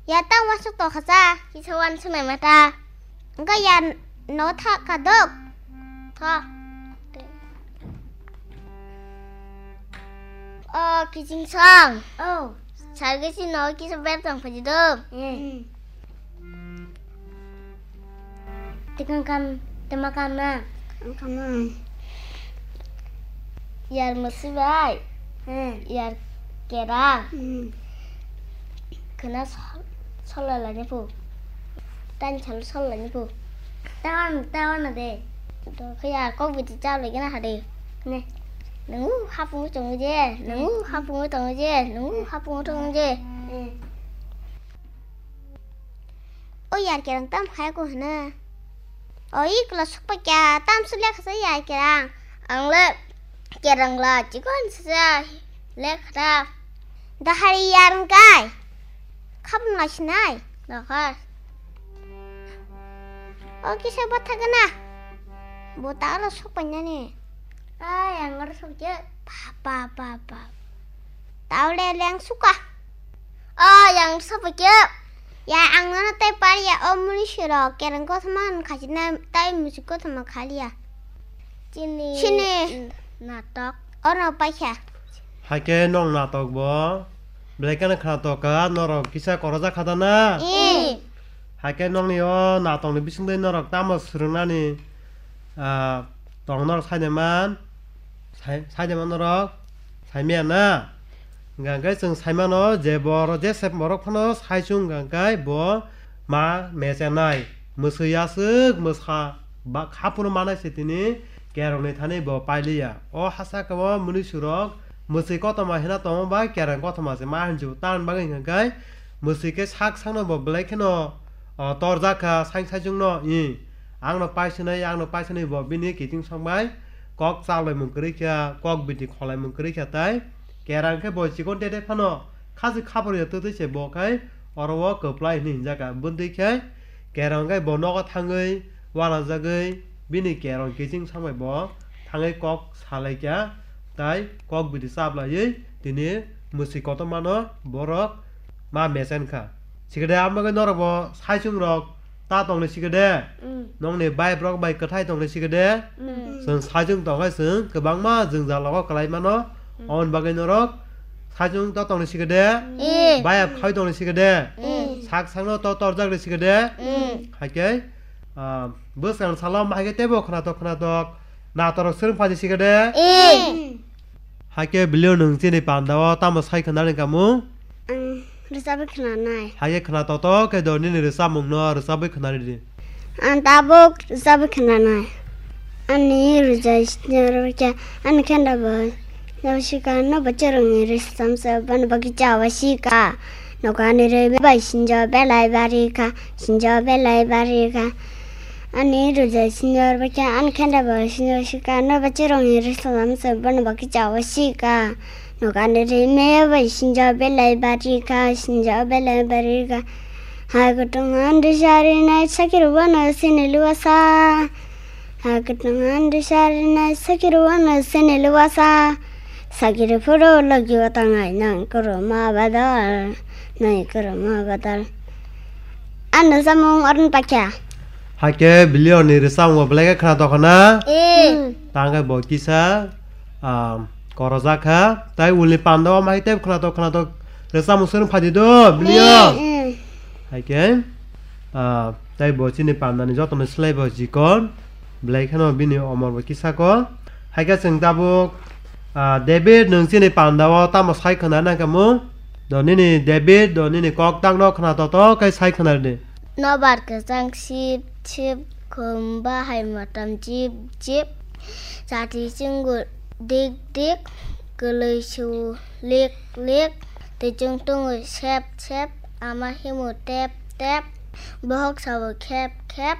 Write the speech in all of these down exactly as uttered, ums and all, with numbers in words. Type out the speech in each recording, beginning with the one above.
Ya tang wasuk to khacha. Kisa wan sunai mata. Engka ya no tha kadok. Tho. O kiching song. Oh. Sargi si no kisa ber tong phaji do. Eh. Hmm. Tikang kam, tema kam na? Kam kam na. Yar musi bai. Hmm. Yar kera. Hmm. Kena sol, sol la ni pu. Tan sol sol la ni pu. Tawan, tawan na de. To kaya kok biti chau lagi na hade. Ne. Nungu hapung chong je. Nungu hapung chong je. Nungu hapung chong je. Hmm. O yar kerang tam khai ko hna. O ikla sukpa kya tam su lekha sa yar kerang. Ang le kerang la chikon sa lekha. Dahari yar kai. Khapung la sinai. Dahar. O kisa bathagana. Bo ta la sukpa nyani. Ai ang ar sukje. Pa pa pa pa. Taule leng suka. O yang sabo khe. Ya ang nono tei pariya o muni siro kereng kothoma khachi na tai musi kothoma khaliya. Chini. Chini. Natok. Ono paikha. Haikhe nong natok bo. Belai kheno khna toka norok kisa korojak khada na. Eh. Haikhe nongni o natokni bisingtwi norok tamo swrwngnani, ah, tong norok saide man, sai-, saide man norok saimaya na. Hwnkha khe chwng saimano je boro-, jese borok phano saichung hwnkha khe bo ma mechenai, mwswi aswk mwsa ba kha phuru manai se tini kerongni thani bo pailiya. O hasa khe o mwnwi surok mwswi kotorma hina tongo ba kereng kotorma se ma hinjio. Tamoni bagwi hwnkha khe mwswi khe sak sakno bo belai kheno, o, torjak kha saing saichungno, i, "Angno paisinai, angno paisinai," bo bini kiting songbai kok chalaimung kwrwi kha, kok biti kholaimung kwrwi kha, tai kerang khe bo chikon tete phano khasi khaphar ya twtwi se bo khai oro o kwplai hinwi hinjak kha. Bwntwi khe kerang khe bo nogo thangwi uanajagwi bini kerong kiting songbai bo thangwi kok salai kha, tai kok biti chaplaiwi tini mwswi kotormano borok ma mechen kha. Sikhe de, amo khe norok bo saichung rok ta tongni sikhe de. Mm. Nongni vibe rok bai kwthai tongni sikhe de. Mm. Chwng saichung tongkhe chwng kwbangma jwngjal rogo kwlai mano. Mm. Aboni bagwi norok saichung to tongni sikhe de. Mm. Vibe khai tongni sikhe de. Mm. Sak sakno to torjak ni sikhe de. Mm. Haikhe, ah, bwskang salo ma haikhe teibo khwnatok khwnatok natorok swrwng phaidi sikhe de. Mm. Haikhe Bilio nwng chini pandao tamo sai khwnani kamung? Ang rwchapwi khwnanai. Haikhe khwna toto khe do nini rwchapmungno rwchapwi khwnaridi. Ang tabuk rwchapwi khwnanai. Ani rwjai sini rwkhe ani khenda bai. Nabasika no bachorongni rwchapmungsa bani bagwi chawa sika. Nokani rwi bai sinjo belai barikha, sinjo belai barikha. Ani rwjai sinjo rwkhe ani khenda bai sinjo sika. Nabachorongni rwchapmungsa bani bagwi chawa sika. Nokani rime bai sinjo belai barikha, sinjo belai barikha. Ha kutung andri sari nai sakir wano sini luasa. Ha kutung andri sari nai sakir wano sini luasa. Sakir phuru logi watangai nang kuru ma badal, nang kuru ma badal. Ano samung orun pakya. Haikhe Bilio ni rwchapmung belai khe khwnatok khwna. Eh. Tangkhe bo kisa, ah, korojak kha. Tai ulni pandao mai tei khwnatok khwnatok rwchapmung swrwng phaidi do, Bilio. Eh. Haikhe, ah, tai bo chini pandani jotono slai bo chikon. Belai kheno bini omor bo kisa ko. Haikhe chwng tabuk, ah, David nwng chini pandao tamo sai khwna nangkha mung? Do nini David, do nini kok tangno khwna toto khe sai khwna di. Nobar kwchang sip sip, khum bahai motom jip jip, chati chungu dik dik, kwlwi su lik lik, twichung tungu sep sep, ama himu tep tep, bohok sabo khep khep,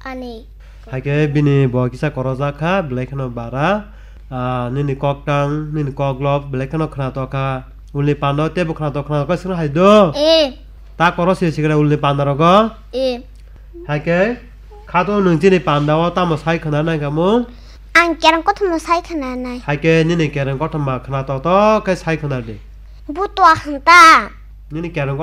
ani. Haikhe bini bo kisa korojak kha, belai kheno bara, ah, nini kok tang, nini kok lok, belai kheno khwnatok kha, ulni pando teibo khwnatok khwnatok khe swrwng hai do. Eh. Ta koro se sikra ulni panda rogo. Eh. Haikhe khato nwng chini pandao tamo sai khwna nangkha mung? Ang kereng kothoma sai khwna nai. Haikhe nini kereng kothoma khwna toto khe sai khwna di. Butwa hwnta. Nini kereng